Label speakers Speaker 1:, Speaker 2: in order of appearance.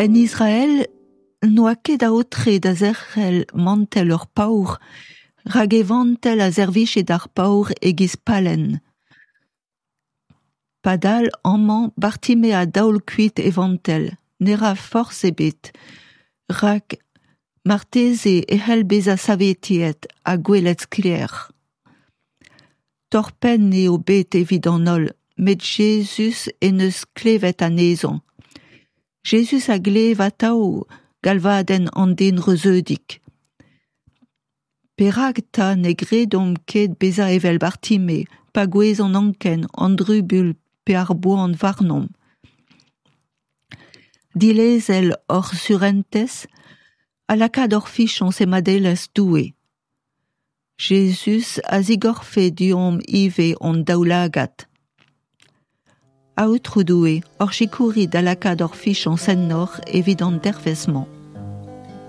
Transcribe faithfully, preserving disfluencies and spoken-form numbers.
Speaker 1: En Israel n'oa ket aotre da zerc'hel mantell ur paour, rak e vantell a servije d'ar paour e-giz pallenn. Padal amañ Bartime a daol kuit e vantell, ne ra forzh ebet, rak marteze e c'hell bezañ saveteet ha gwelet sklaer. Torr-penn eo bet evit an holl, met Jezuz en deus klevet anezhañ. Jezuz a glev atav galvadenn an den reuzeudik. Perak 'ta ne gredomp ket bezañ evel Bartime, pa gouezh an anken, an trubuilh pe ar boan warnomp ? Dilezel hor surentez ha lakaat hor fiziañs e madelezh Doue. Jezuz a zigorfe deomp ivez hon daoulagad. Aotrou Doue, hor sikourit da lakaat hor fiziañs ennoc'h evit an dervezh-mañ.